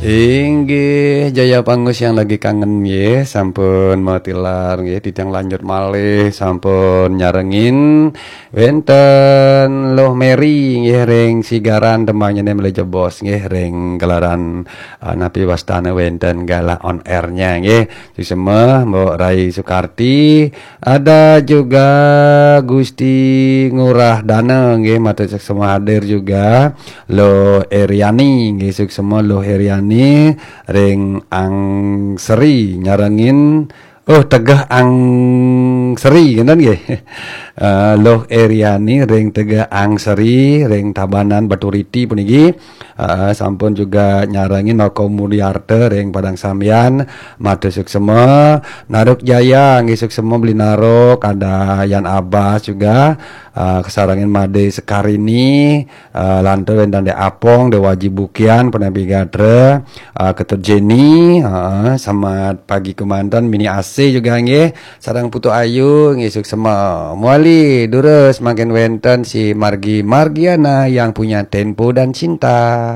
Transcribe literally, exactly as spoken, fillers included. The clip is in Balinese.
Inggih, Jaya Pangus yang lagi kangen nggih, sampun matilar nggih, titiang lanjut malih sampun nyarengin wenten Luh Mary nggih ring Sigaran, tembangnya malih jebos nggih ring gelaran, eh, napi wastane wenten galah on air-nya nggih. Suksma Mbok Rai Sukarti, ada juga Gusti Ngurah Dana nggih, matur suksma hadir juga. Luh Eriani nggih, suksma Luh Eriani ring Angseri nyarengin, oh, Tegeh Angseri, ngenten nggih. Eh, Luh Eriani ring Tegeh Angseri ring Tabanan Baturiti puniki. Eh, sampun juga nyarengin Noko Mulyarta ring Padang Sambian, matur suksma. Naruk Jaya nggih, suksma Beli Naruk, ada Yan Abbas juga, eh, kasarengin Made Sekarini, eh, lantur wenten Dek Apong, Dek Waji Bukian, Penabi Gatra, eh, Ketut Jenny, eh, selamat pagi kemanten, Mini A C juga nggih, sareng Putu Ayu nggih, suksma. Muali durus mangkin wenten si Margi Margiana yang punya Tempo dan Cinta.